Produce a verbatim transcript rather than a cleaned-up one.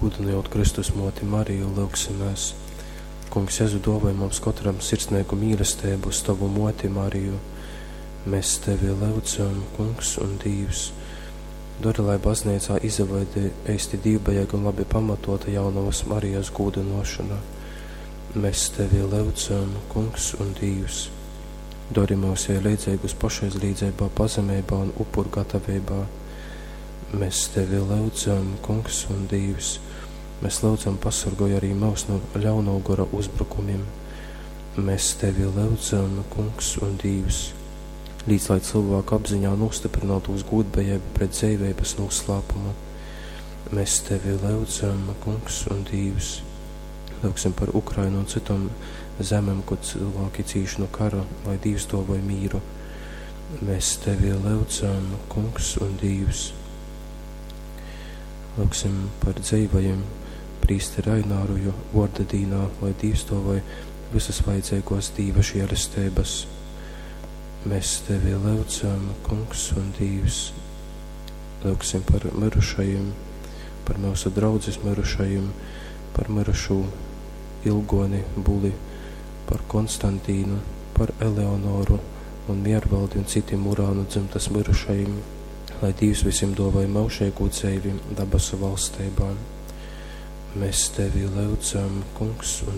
Gūdynojot Kristus muoti Mariju, lyugsimēs. Kungs Jezu, duovoj mums kotram sirsneigu mīlesteibu uz tovu muoti Mariju. Mēs tevi lyudzam, Kungs un Dīvs. Dori, lai bazneicā izaveidoj eisti dīvbejeiga un labi pamatota jaunovas Marijas gūdynuošona. Mēs tevi lyudzam, Kungs un Dīvs. Dori mūs jai leidzeigus pašaizlīdzeibā, pazemeibā un upurgataveibā. Mēs tevi lyudzam, Kungs un Dīvs. Mēs lyudzam, pasorgoj arī mūs no ļaunō gora uzbrukumiem. Mēs tevi lyudzam, Kungs un Dīvs. Līdz lai cilvēku apziņā nostiprinātos gūdbejeiba pret dzeiveibas noslēpumu. Mēs tevi lyudzam, Kungs un Dīvs. Lūgsim par Ukrainu un citom zemēm, kur cilvēki cīš no kara, lai Dīvs dovoj mīru. Mēs tevi lyudzam, Kungs un Dīvs. Lūgsim par dzeivajiem prīsteri Aināru, jo vorda dīnā, lai Dīvs dovoj visas vajadzīgos Dīva žēlestības. Mēs tevi lyudzam, Kungs un Dīvs. Lūgsim par mirušajiem, par mūsu draudzes mirušajiem, par mirušū Ilgoni Buli, par Konstantīnu, par Eleonoru un Miervaldi un citiem Urānu dzimtas mirušajiem, lai Dīvs visiem dovoj mūžīgu dzeivi dabasu valstībā. Mēs tevi lyudzam, Kungs un